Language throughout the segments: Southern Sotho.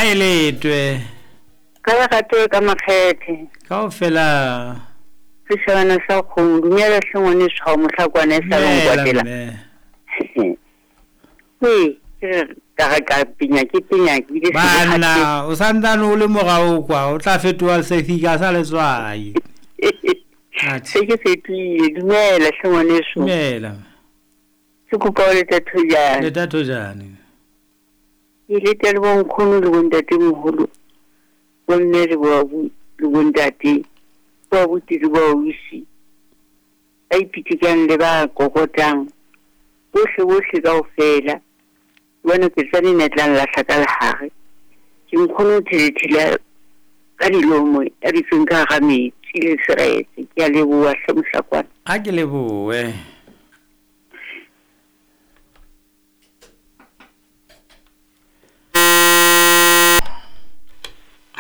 Ha e letwe. Ka le ratoe ka makgethe. Kaofela. Seshabana sa kgomo, dumela hle ngwaneso ha o mohlakwana e sa le Dumela nkwatela. mme. Wee, ke re ka re ka penya ke penya ke bile se ke kgathetse. Banna, o santsane o le morao kwa, o tla fetoha sefika sa letswai. Atjhe. Se ke fetohile, dumela hle ngwaneso. Dumela. Ke kopa o leta thojane. Leta thojane. Ke leta le bonkgono le bontatemoholo, bomme le le bontate, bo abuti le bo ausi, ba ipitikang le ba kokotang, bohle bohle kaofela. Jwale ke tsane ne tla nlahla ka lehare. Ke nkgono thelethele ka dilomo ya dutseng ka hara metsi le seretse. Ke a leboha hle mohlakwana. A ke lebohe.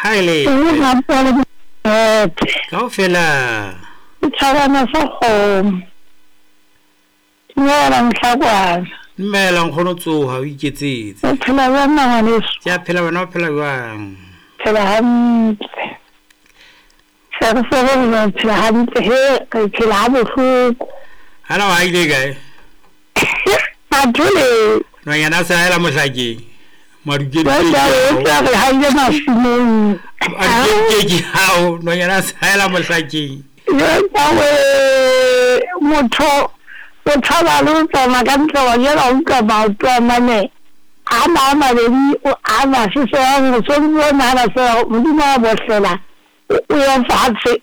Ha e le kaofela. Setjhabana sa kgomo. Dumela mohlakwana. Dumela nkgono tsoha o iketsetse. O phela jwang ngwaneso? Ke a phela wena o phela jwang? Phela hantle. Se re se re re phela hantle he re phela ha bohloko. Hana wa ile kae? Mathole. Nonyana sa ela mohlakeng. Madukedi. Ba re ha ile masimong. Madukedi ke hao nonyana sa ela mohlakeng. Yo motho o tshaba le ho tsamaya ka ntle wa jela o utlwa maoto a mane a ma a mabedi a masesehang o so ntse o nahana fela Modimo a bohlela o ye fatshe.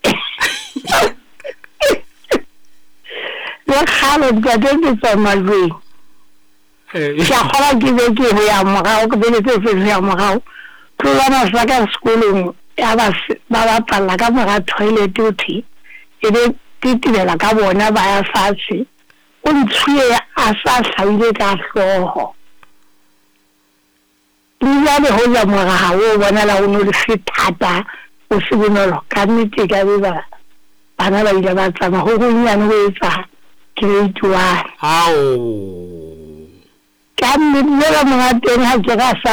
Le kgale ntate ke tswa majweng. Ke a kgolwa ke be ke ho ya morao ke bele tse tse ya morao. Tlola sa ka sekolong ya ba ba bapalla ka mora toilet o thwe e be tetebela ka bona ba ya fatshe. O ntshuye a sa hlahile ka hlooho. Le jwale hoja moraha o bonala o no le se thata o se bonolo ka nnete e ka be ba bana ba ile ba tsamaya ho honyane ho etsa grade 1. Ao. Ka nnete jwale monga teng ha ke ra sa